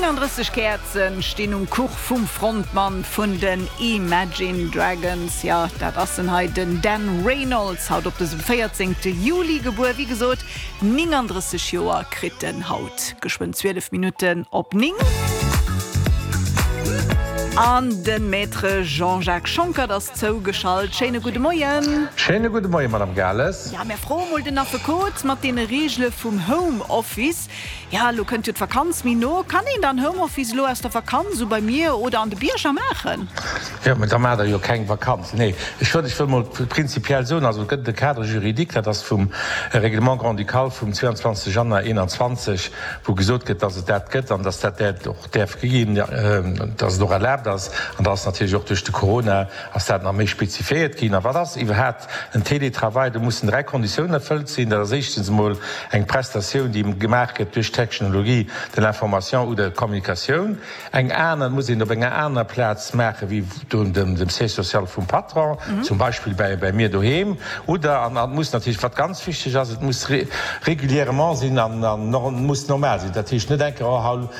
39 Käerzen stinn um Kuch vum Frontmann vun den Imagine Dragons. Jo, dat ass en hei, den Dan Reynolds, haut op dësem 14 Juli gebuer. Wéi gesot, 39 Joer kritt en haut. Geschwënn 12 Minutten op 9. An de Maître Jean-Jacques Schonckert ass zougeschalt. Schéine gudde Moien. Schéine gudde Moien, Madame Gales. Ja, mär froe mol den Affekot mat deene Reegele vum Home Office. Ja, elo kënnt jo d'Vakanz méi no. Kann een dann Home Office elo aus der Vakanz esou bei mir oder an de Bierger maachen? Jo, mä da maacht Der jo keng Vakanz. Nee, ech wëll, ech wëll mol prinzipiell soen, also et gëtt e Cadre juridique, dat ass vum Règlement grand-ducal vum 22 Januar 21, wou gesot gëtt, dass et dat gëtt an dass dat dat och däerf ginn, dass et och erlaabt ass. An da ass natierlech och duerch de Corona ass dat nach méi spezifiéiert ginn. A wat ass iwwerhaapt en Télétravail? Do mussen 3 Konditiounen erfëllt sinn. Dat ass éischtens emol eng Prestatioun, déi gemaach gëtt duerch d'Technologie de l'information ou de communication. Eng aner, et muss een op enger anerer Plaz maache wéi do dem Siège social vum Patron, zum Beispill bäi mir doheem. Oder, an et muss natierlech, wat ganz wichteg ass, et muss régulièrement sinn an muss normal sinn. Dat heescht net eng Kéier, oh haut.